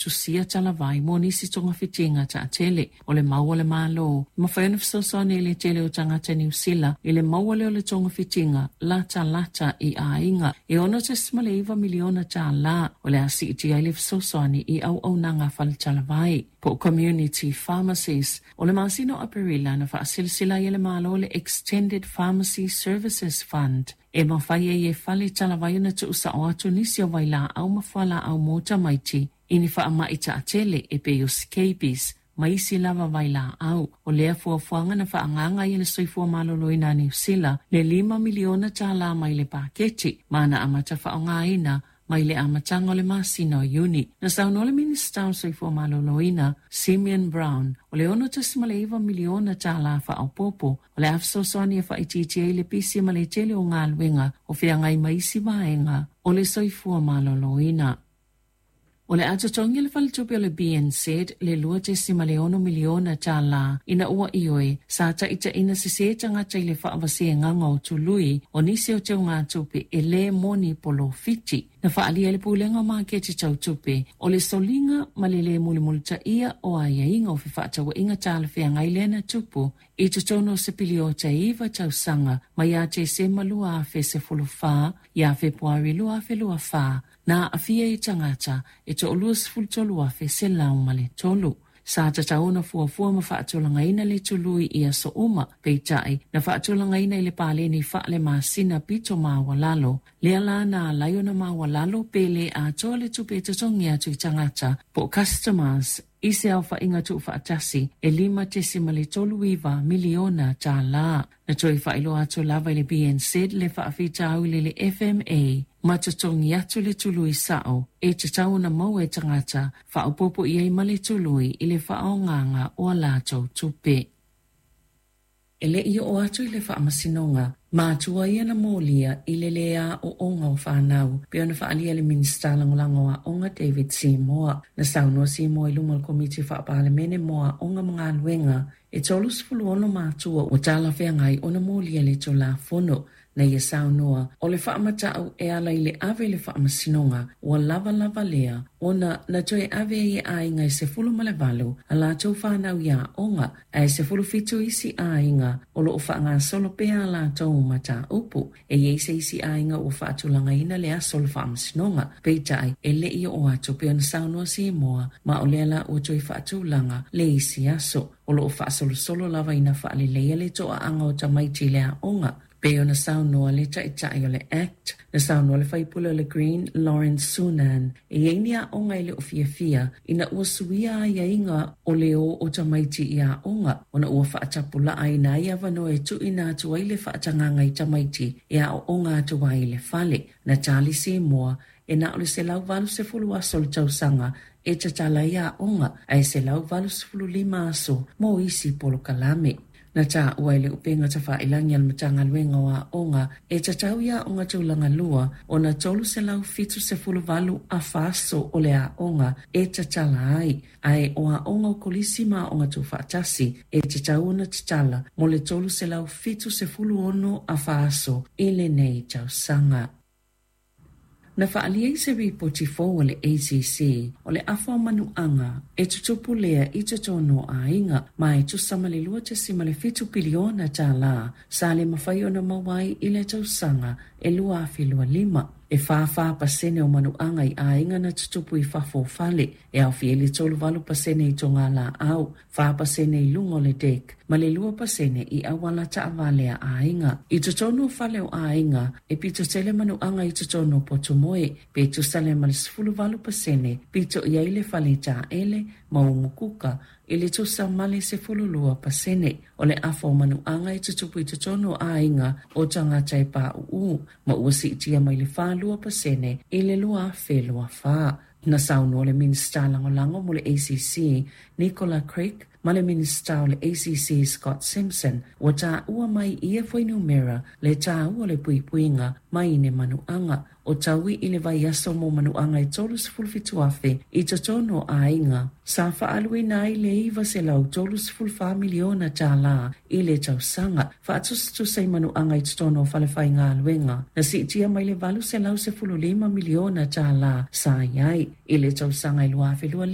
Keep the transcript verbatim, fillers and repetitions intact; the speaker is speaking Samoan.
tusia talavai mo nisi togafitiga taatele. O le mau a le Malo, e mafai ona fesoasoani i le tele o tagata Niu Sila i le maua lea o le togafitiga latalata i aiga. E ono tasi ma le iva miliona tālā o le a siitia ai le fesoasoani i auaunaga a faletalavai po o community pharmacies. O le masina o Aperila na faasilasila ai e le Malo le Extended Pharmacy Services Fund e mafai ai e fale talavai ona tuusao atu nisi o vailaau ma fualaau mo tamaiti i ni faamai taatele e pei o scabies ma isi lava vailaau. O lea fuafuaga na faaagaaga ai e le Soifua Maloloina a Niu Sila le lima miliona tālā mai le paketi ma na amata faaaogaina mai le amataga o le masina o Iuni. Na saunoa le Minisita o le Soifua Maloloina, Simeon Brown, o le ono tasi ma le iva miliona tālā faaopoopo o le a fesoasoani e faaitiitia ai le pisi ma le tele o galuega o feagai ma isi vaega o le soifua maloloina. O le a totogi e le faletupe o le B N Z le lua tesi ma le ono miliona tālā ina ua ioe sa taitaina sesē tagata i le faavasegaga o tului o nisi o teugatupe e lē moni polofiti. Na faaalia e le pulega o maketi tautupe o le soliga ma le lē mulimulitaia o aiaiga o fefaatauaiga talafeagai lea na tupu i totonu o se piliota e iva tausaga mai ia Tesema lua afe sefulu fa ia Fepuari lua afe lua fa na aafia i tagata e toalua sefulu tolu afe selau ma le tolu. Sa tatau ona fuafua ma faatulagaina le tului i aso uma, peitai na faatulagaina i le paleni faale masina pito maualalo. Lea la na alai ona maualalo pe le atoa le tupe e totogi atu i tagata po o customers i se aofaiga tuufaatasi e lima tesi ma le tolu iva miliona tālā. Na toe faailoa atu lava i le B N Z le faafitauli i le F M A ma totogi atu le tului sao e tatau ona maua e tagata faaopoopo i ai ma le tului i le faaogaga o a latou tupe. E le i oo atu i le faamasinoga, matua ia na molia i le lē aoaoga o fanau, pe ona faaalia le Minisita Lagolago o Aoga David Seymour. Na saunoa Seymour i luma o le Komiti Faapalemene mo Aoga ma Galuega e tolu sefulu ono matua ua talafeagai ona molia le Tulafono. Na ia saunoa o le faamatau e ala i le ave i le faamasinoga ua lavalava lea ona na toe ave ai e aiga e sefulu ma le valu a latou fanau i aoga ae sefulu fitu isi aiga o loo faagasolo pea a latou mataupu. E iai se isi aiga ua faatulagaina le aso o le faamasinoga, peitai e le i oo atu pe ona saunoa Seymour ma o lea la ua toe faatulaga le isi aso. O loo faasolosolo lava ina faaleleia le toaaga o tamaiti i le aoga. Pe ona saunoa le taitai o le Act, na saunoa le faipule o le Green Lawrence Sunan, e iai ni aoga i le o fiafia ina ua suia aiaiga o le o o tamaiti i aoga, ona ua faatapulaaina ai avanoa e tuuina atu ai le faatagaga i tamaiti e aooga atu ai i le fale. Na tali Seymour e na o le selau valu sefulu aso o le tausaga e tatala ai aoga ae selau valu sefulu lima aso mo isi polokalame. Na taua i le upega tafailagi a le Matagaluega o Aoga e tatau i aoga tulaga lua ona tolu selau fitu sefulu valu afa aso o le aoga e tatala ai, ae o aoga o kolisi ma aoga tuufaatasi e tatau ona tatala mo le tolu selau fitu sefulu ono afa aso i lenei tausaga. Na faalia i se ripoti fou a le A C C o le afa o manuaga e tutupu lea i totonu o aiga ma e tusa ma le lua tasi ma le fitu piliona tālā sa le mafai ona maua ai i le tausaga e lua afe lua lima. E whā pasene o manuaga i aiga na tutupu i fafo o fale, e aofia i le tolu valu pasene i tonga la au, whā pasene i lunga o le dek, ma le lua pasene i awala taavale a aiga. I totonu o fale o aiga, e pito tele manuaga i totonu o potumoe, pe tusa le ma le sefulu valu pasene, pito i ai le fale taele ma umukuka, i le tusa ma le sefulu lua pasene. O le afa o manuaga e tutupu i totonu o aiga o tagata e pauu, ma ua siitia mai le whālua pasene i le lua afe lua whā. Na saunoa le Minisita Lagolago mo le A C C, Nicola Craig, ma le Minisita o le A C C, Scott Simpson, ua tāua mai ia fuainumera le tāua le puipuiga mai ne manuaga o taui i le vaiaso mo manuaga e tolu sefulu fitu afe i totonu o aiga. Sa faaluina ai le iva selau tolu sefulu whā miliona tālā i le tausaga faatusatusa i manuaga i totonu o falefaigaluega. Na siitia mai le valu selau sefulu lima miliona tālā sa iai i le tausaga i lua afe lua